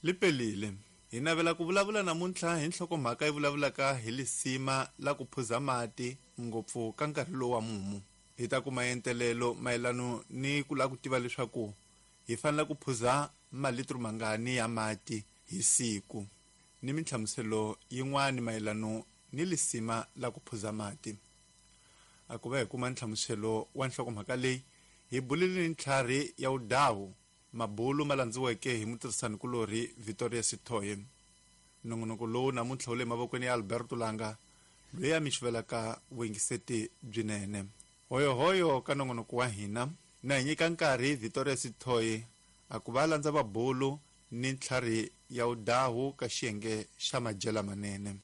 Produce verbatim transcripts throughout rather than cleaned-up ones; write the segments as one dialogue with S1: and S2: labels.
S1: Lipelile hi navela ku vulavula namuntlha hi nhlokomhaka yi vulavulaka hi lisima la ku phuza mati ngopfu ka nkarhi lowu wa mumu. Hi ta kuma entelelo mayelano ni ku lava ku tiva leswaku hi fanele ku phuza malitro mangani ya mati hi siku ni minhlamuselo yin'wana mayelano ni lisima la ku phuza mati. A ku va hi kuma nhlamuselo wa nhlokomhaka leyi hi bulile ni ntlhari ya udawu mabulu ma landziweke hi mutirhisanikulorhi Victoria Sithoye. Nongonoko lowu namuntlha wu le mavokweni ya Alberto Langa loyi a mi xuvelaka vuyingiseti byinene. Hoyohoyo ka nongonoko wa hina na hi nyika nkarhi Victoria Sithoye a ku va landza vabulu ni ntlhari ya udahu ka xiyenge xa madyela manene.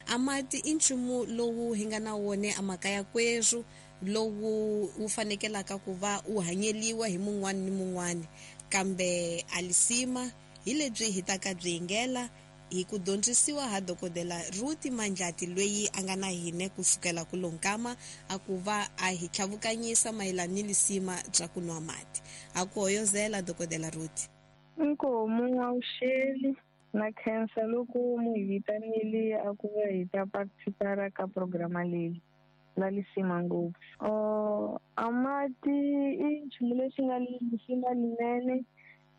S2: A mati i nchumu lowu hi nga na wona emakaya kwerhu lowu wu fanekelaka ku va wu hanyeliwa hi mun'wana ni mun'wana, kambe a lisima hi lebyi hi ta ka byi yingela hi ku dyondzisiwa ha dokodela Ruth Mandlati loyi a nga na hina kusukela ku lonkama a ku va a hi tlhavukanyisa mayelana ni lisima bya ku nwa mati. A ku hoyozela dokodela Ruth.
S3: Inkomu awuxeli na khensa loko mu hi vitanile a ku va hi ta participara ka programa leyi la lisima ngopfu. Uh, a mati i nchumu lexi nga lisima linene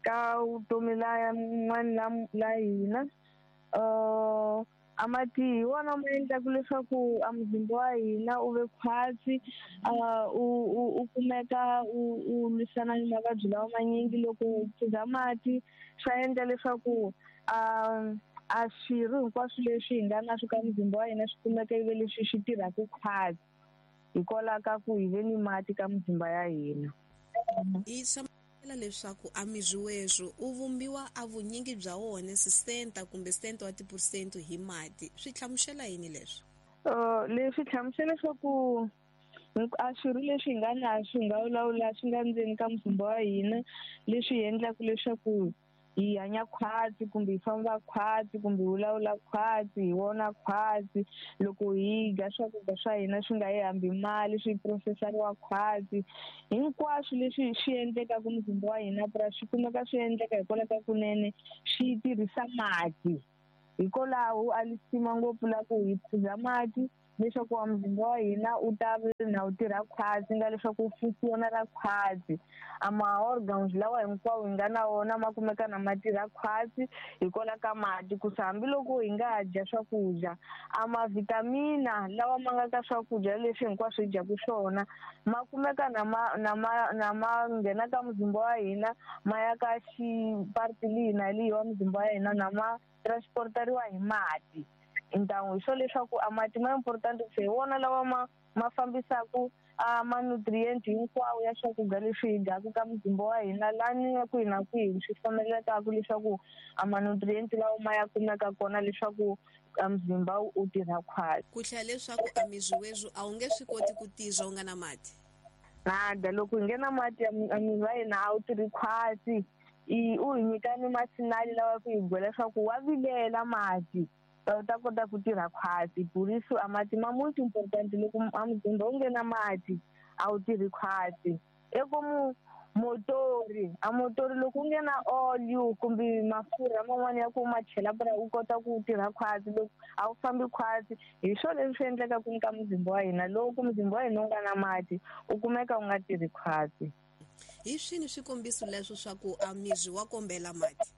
S3: ka vutomi la n'wana la hina. Uh, a mati hi wona ma endlaka leswaku a muzimba wa hina u ve khwatsi, uh, u, u, u kumeka u, u lwisana ni mavabyi lawa manyingi. Loko u phuza mati swa endla leswaku a a swirho hinkwaswo leswi hi nga na swo ka muzimba wa hina swi kumeka ivi leswi swi tirhaka khwatsi hikwalaho ka ku hi ve ni mati ka muzimba ya hina.
S2: I swa leswaku a miri werhu u vumbiwa a vunyingi bya wona sesenta kumbe sesenta wa tiphesente hi mati. Swi hlamusela yini leswi?
S3: Uh, leswi hlamusela leswaku a swirho leswi hi nga na swi nga vulavula swi nga ndzeni ka muzimba wa hina leswi endlaka leswaku hi hanya khwatsi kumbe hi famba khwatsi kumbe hi vulavula khwatsi hi vona khwatsi. Loko hi dya swakudya swa hina swi nga yi hambi mali swi processariwa khwatsi, hinkwaswo leswi swi endlekaka muzimba wa hina pra swi kumeka swi endleka hikwalaho ka kunene swi tirhisa mati. Hikwalaho a lisima ngopfu la ku hi phuza mati leswaku wa muzimba wa hina u ta na wu tirha khwatsi, nga leswaku wu fusiwa ra khwatsi. A ma-organs lawa hinkwawo hi nga na wona ma kumeka na ma tirha khwatsi hikwalaho ka mati. Ku se hambiloko hi nga dya swakudya a ma-vitamina lawa ma nga ka swakudya leswi hinkwaswo hi dyaka swona ma kumeka na ma na ma na ma nghena ka muzimba wa hina ma ya ka xipati lihi na lihi wa muzimba wa hina na ma transportariwa hi mati. Ntangu hi swo leswaku a mati ma important ku se hi wona lawa ma ma fambisaka a ma-nutrient hinkwawo ya swakudya leswi hi dyaka ka muzimba wa hina lani kwihi na kwihi swi fanelekaka leswaku a ma-nutrient lawa ma ya kumeka kona leswaku a muzimba wu tirha khwatsi.
S2: Ku hlaya leswaku a miri werhu a wu nge swi koti ku tirha u nga na mati.
S3: Nada, loko hi nge na mati a miri wa hina a wu tirhi khwatsi. I u hi nyika ni masinali lawa ku hi byela leswaku wa vilela mati u ta kota ku tirha khwatsi. Buriso a mati ma most important loko a muzimba wu nge na mati a wu tirhi khwatsi. Eko motori a motori loko u nge na oli kumbe mafurha man'wana ya ku ma chela pra u kota ku tirha khwatsi, loko a wu fambi khwatsi. Hi swona leswi endlekaka ka muzimba wa hina. Loko muzimba wa hina wu nga na mati u kumeka u nga tirhi khwatsi.
S2: Hi swini swikombiso leswo swa ku a miri wa kombela mati?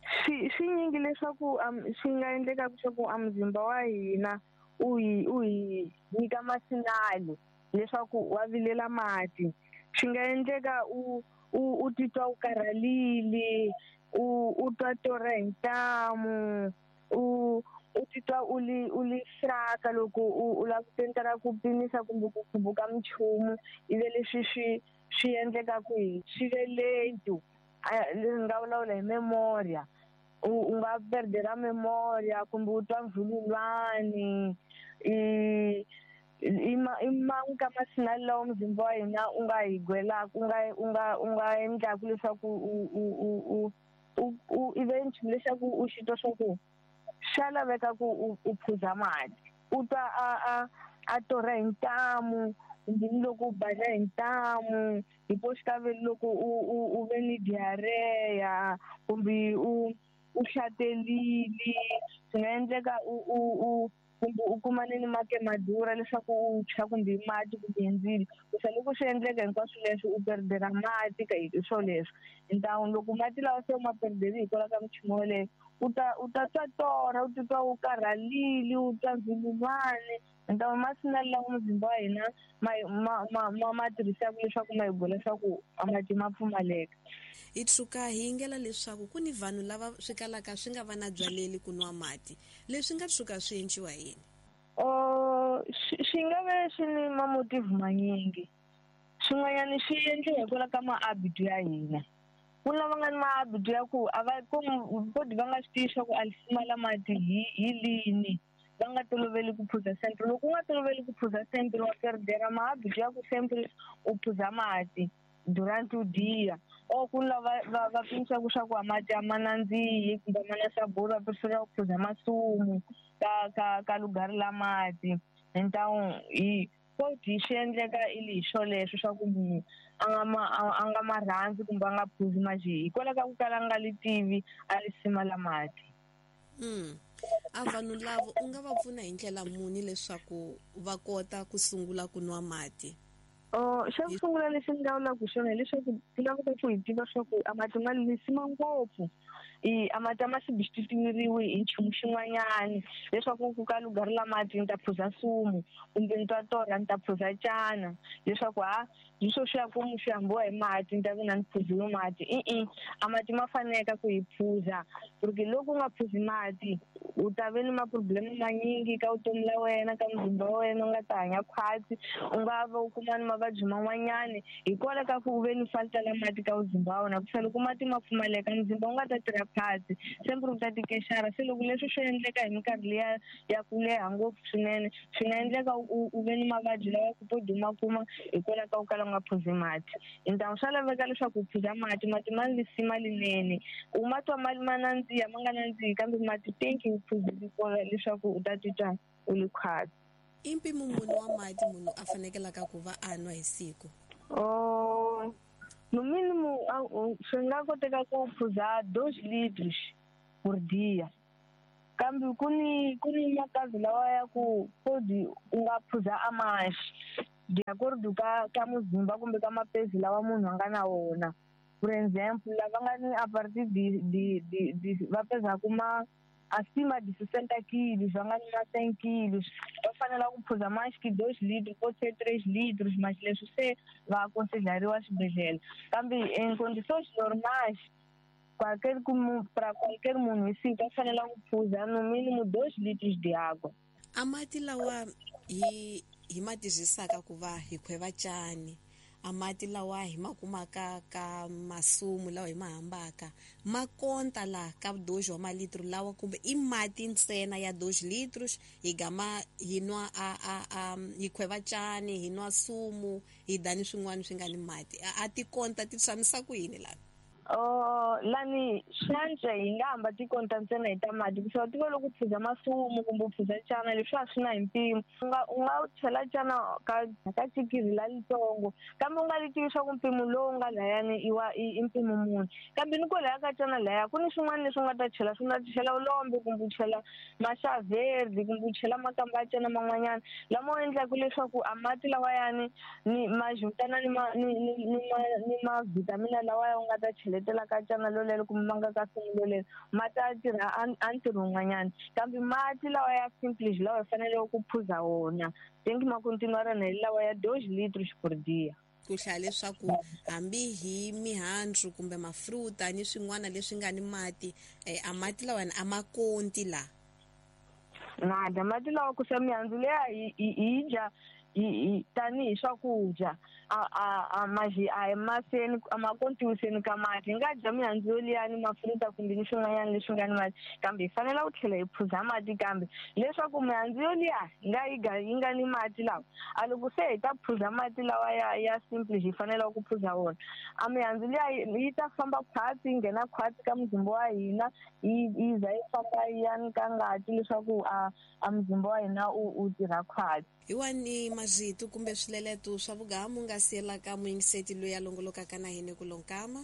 S3: Swi swi nyingi leswaku swi nga endleka leswaku a muzimba wa hina u hi u hi nyika masinali leswaku wa vilela mati. Swi nga endleka u u u titwa u karhalile, u u twa torha hi ntamu, u u titwa u li u li fraka loko u u lava ku tentela ku pimisa kumbe ku khumbuka minchumu ivi leswi swi swi endlekaka hi swi ve late. Nga vulavula hi memoria, u nga perdera memoria kumbe u twa mvululwani. I i man'we ka masinali lawa muzimba wa hina u nga hi gwelaka u nga u nga u nga endlaka leswaku u u u u u ive nchumu lexaku u xi twa swa ku swa laveka ku u u phuza mati. U twa a a a torha hi ntamu, Kumbe ni loko u baja hi ntamu, hi po swi ta ve loko u u u ve ni diarrhea kumbe u u hlatelile, swi nga endleka u u u kumbe u kumane ni mati ma durha leswaku u tshwa kumbe hi mati kumbe hi ndzilo. Kusa loko swi endleka hinkwaswo leswi u perdela mati ka hi swo leswo. Ntamu loko mati lawa se u ma perdeli hikwalaho ka minchumu yoleyo, u ta u ta twa torha, u titwa u karhalile, u twa ndzilulwane. Ntamu masi na lawa muzimba wa hina ma ma ma ma ma tirhisaka leswaku ma hi byela leswaku a mati ma pfumaleka.
S2: Hi tshuka hi yingela leswaku ku ni vanhu lava swi kalaka swi nga va na byaleli ku nwa mati, leswi nga tshuka swi endliwa hi yini?
S3: Oh, swi nga ve swi ni mamotive manyingi. Swin'wanyana swi endliwa hikwalaho ka mahabitu ya hina. Ku na lava nga ni mahabitu ya ku a va koti va nga swi tivi swa ku a lisima la mati hi hi lini, va nga toloveli ku phuza sempre. Loko u nga toloveli ku phuza sempre wa perdera mahabitu ya ku sempre u phuza mati durante o dia. Or ku na lava va va pimisaka swa ku a mati a ma nandzihi kumbe a ma na sabor, va prefera ku phuza masumu ka ka ka lugari la mati. Então hi koti swi endleka i li hi swoleswo swa ku munhu a nga ma a nga ma rhandzi kumbe a nga phuzi mati hikwalaho ka ku kala a nga li tivi a lisima la mati.
S2: Mm. A vanhu lava u nga va pfuna hi ndlela muni leswaku va kota ku sungula ku nwa mati?
S3: Oh, xa ku sungula lexi ni nga vulaka xona hileswaku swi laveka ku hi tiva swa ku a mati ma lisima ngopfu. I a mati a ma substitute-iwi hi nchumu xin'wanyani leswaku ku ka lugari la mati ni ta phuza sumu kumbe ni twa torha ni ta phuza cana, leswaku ha hi swo swi ya ku swi hambiwa hi mati ni ta ve na ni phuziwe mati. I-i, a mati ma faneka ku hi phuza, porque loko u nga phuzi mati u ta ve ni ma-problem manyingi ka vutomi la wena, ka muzimba wa wena, u nga ta hanya khwatsi, u nga va u kuma ni mavabyi man'wanyani hikwalaho ka ku u ve ni falta la mati ka muzimba wa wena. Kusa loko mati ma pfumaleka muzimba wu nga ta tirha khwatsi, sempre u ta tikexara. Se loko leswi swi endleka hi minkarhi liya ya ku leha ngopfu swinene, swi nga endleka u u ve ni mavabyi lawa ku podi u ma kuma hikwalaho ka ku kala u nga phuzi mati. Ntamu swa laveka leswaku u phuza mati, mati ma lisima linene. U ma twa ma ma nandziha ma nga nandzihi, kambe mati tenki u phuzile kona leswaku u ta titwa u li khwatsi.
S2: I mpimo muni wa mati munhu a fanekelaka ku va a nwa hi siku?
S3: Oh, no mínimo swi nga koteka ku phuza dois litros por dia. Kambe ku ni ku ni makazi lawa ya ku podi u nga phuza a mais de acordo ka ka muzimba kumbe ka mapezi lawa munhu a nga na wona. Por exemplo, lava nga ni a partir de de de, de va pezaku ma acima de sessenta quilos, va nga ni ma cem quilos, va fanela ku phuza mais que dois litros, pode ser três litros, mas leswi se va aconselhariwa swibedhlele. Kambe em condições normais, qualquer para qualquer munhu hi siku va fanela ku phuza no mínimo dois litros de água.
S2: A mati lawa hi hi ma tirhisaka ku va hi khweva cani, a mati lawa hi ma kumaka ka masumu lawa hi ma hambaka, ma konta la ka dois wa malitro lawa kumbe i mati ntsena ya dois litros hi gama hi nwa a a a hi khweva cani, hi nwa sumu, hi dani swin'wana swi nga ni mati. A ti konta ti tshamisa ku yini la?
S3: Oh, lani swantswa hi nga hamba ti konta ntsena hi ta mati, ku swa tiva loko u phuza masumu kumbe u phuza cana leswi a swi na hi mpimo. U nga u nga chela cana ka ka chikiri la litsongo, kambe u nga li tivi swa ku mpimo lowu nga layani i wa i mpimo muni. Kambe ni kwalaya ka cana laya ku ni swin'wana leswi u nga ta chela, swi nga chela ulombe kumbe u chela maxaverde kumbe u chela makamba ya cana man'wanyana lama u endlaka leswaku a mati lawayani ni ma juntana ni ma ni ni ni ma ni ma vitamina lawaya u nga ta chela letela ka cana lolelo kumbe ma nga ka sumu lolelo, ma ta tirha a ntirho wun'wanyana. Kambe mati lawa ya simples lawa hi faneleke ku phuza wona tenki ma continuar na hi lawa ya dois litros por dia.
S2: Ku hlaya leswaku hambi hi mihandzu kumbe mafruta ni swin'wana leswi nga ni mati, eh, a mati lawa a ma konti la.
S3: Nada, mati lawa ku sa mihandzu leya hi hi dya tanihi swakudya a a a maji a hi maseni a ma kontiwiseni ka mati. Hi nga dya mihandzu yoliyani mafruta kumbe ni swin'wanyana leswi nga ni mati, kambe hi fanela ku tlhela hi phuza mati kambe leswaku mihandzu yoliya hi nga yi ga yi nga ni mati lawa. A loko se hi ta phuza mati lawa ya ya simple hi fanela ku phuza wona, a mihandzu liya yi ta famba khwatsi yi nghena khwatsi ka muzimba wa hina, yi yi za yi famba yi ya ni ka ngati leswaku a a muzimba wa hina u u tirha khwatsi.
S2: Hi wani marito kumbe swileleto swa vugamu nga siyelaka muyingiseti loyi a longolokaka na hina ku lonkama?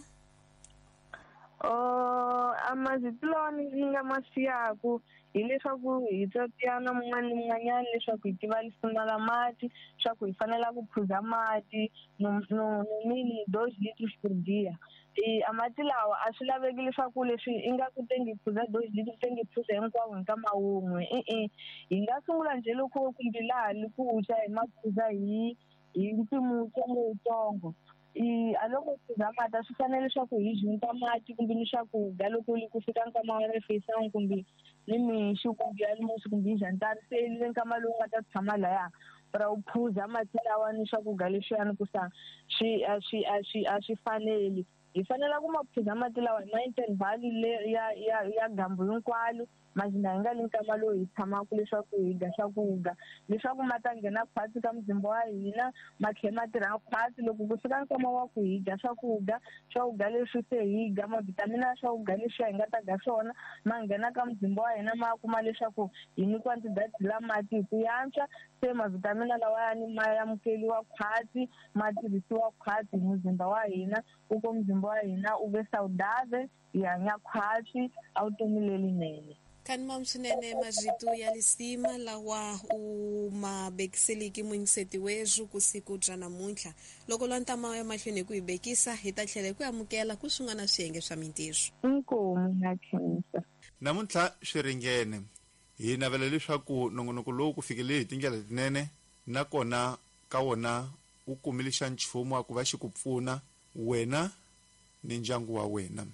S3: Oh, a marito lawa ni nga ma siyaku hileswaku hi tsatiyana mun'wana ni mun'wanyana leswaku hi tiva lisima la mati, swa ku hi fanela ku phuza mati no no mini dois litros por dia. E a mati lawa a swi laveki leswaku leswi i nga ku tengi phuza dois litros tengi phuza hinkwavo hi nkama wun'we, e-e. Hi nga sungula njhe loko kumbe laha li ku tya hi ma phuza hi hi mpimo wutsongo wutsongo. I a loko phuza mati a swi fanele leswaku hi junta mati kumbe ni swakudya loko ku fika nkama wa refeição kumbe ni mixo kumbe almoço kumbe jantar, se le nkama lowu nga ta tshama laya ra u phuza mati lawa ni swakudya leswiyani ku sa swi a swi a swi a swi faneli. Hi fanela ku ma phuza mati lawa hi ma interval le ya ya ya gambu hinkwalo, mazina hi nga le nkama lowu hi tshamaka leswaku hi dya swakudya leswaku ma ta nghena khwatsi ka muzimba wa hina, ma tlhela ma tirha khwatsi. Loko ku fika nkama wa ku hi dya swakudya, swakudya leswi se hi dya mavhitamini ya swakudya leswi hi nga ta dya swona ma nghena ka muzimba wa hina, ma kuma leswaku hi nyikiwa quantidade la mati hi ku yantswa, se mavhitamini lawayani ma amukeriwa khwatsi, ma tirhisiwa khwatsi hi muzimba wa hina, ku ko muzimba wa hina u ve saudável, hi hanya khwatsi a vutomi lelinene.
S2: Kani swinene marito ya lisima lawa u ma bekiseliki muyingiseti wethu ku siku bya namuntlha. Loko lwa ntama ya mahlweni hi ku hi bekisa, hi ta tlhela hi ku amukela ku swin'wana swiyenge swa mintirho.
S3: Inkomu na khensa.
S1: Namuntlha swi ringene. Hi navela leswaku nongonoko lowu ku fikelele hi tindlela letinene, nakona ka wona wu kumile xa nchumu wa ku va xi ku pfuna wena ni ndyangu wa wena.